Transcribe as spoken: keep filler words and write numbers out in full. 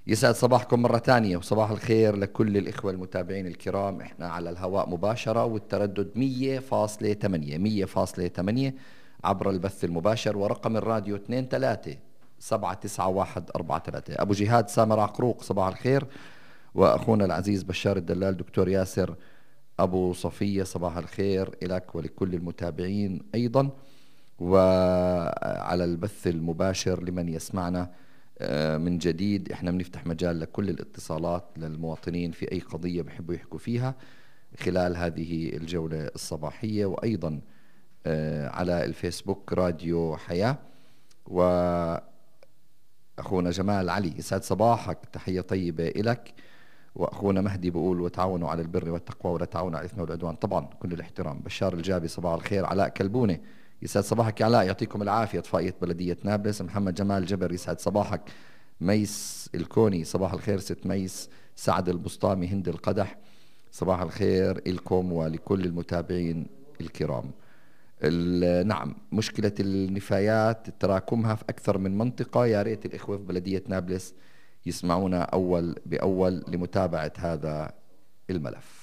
يسعد صباحكم مرة تانية وصباح الخير لكل الإخوة المتابعين الكرام. إحنا على الهواء مباشرة والتردد مية فاصلة ثمانية مية فاصلة ثمانية عبر البث المباشر، ورقم الراديو اثنين ثلاثة سبعة تسعة واحد أربعة ثلاثة. أبو جهاد سامر عقروق صباح الخير، وأخونا العزيز بشار الدلال دكتور ياسر أبو صفية صباح الخير إلك ولكل المتابعين أيضا، وعلى البث المباشر لمن يسمعنا من جديد. احنا بنفتح مجال لكل الاتصالات للمواطنين في اي قضية بحبوا يحكوا فيها خلال هذه الجولة الصباحية، وايضا على الفيسبوك راديو حياة. واخونا جمال علي يسعد صباحك، تحية طيبة إلك. واخونا مهدي بيقول وتعاونوا على البر والتقوى ولا تعاونوا على الاثم والعدوان، طبعا كل الاحترام. بشار الجابي صباح الخير. علاء كلبونة يسعد صباحك يا علاء، يعطيكم العافية. طفائية بلدية نابلس. محمد جمال جبر يسعد صباحك. ميس الكوني صباح الخير ست ميس. سعد البسطامي هند القدح صباح الخير إلكم ولكل المتابعين الكرام. نعم، مشكلة النفايات تراكمها في أكثر من منطقة، يا ريت الإخوة في بلدية نابلس يسمعونا أول بأول لمتابعة هذا الملف.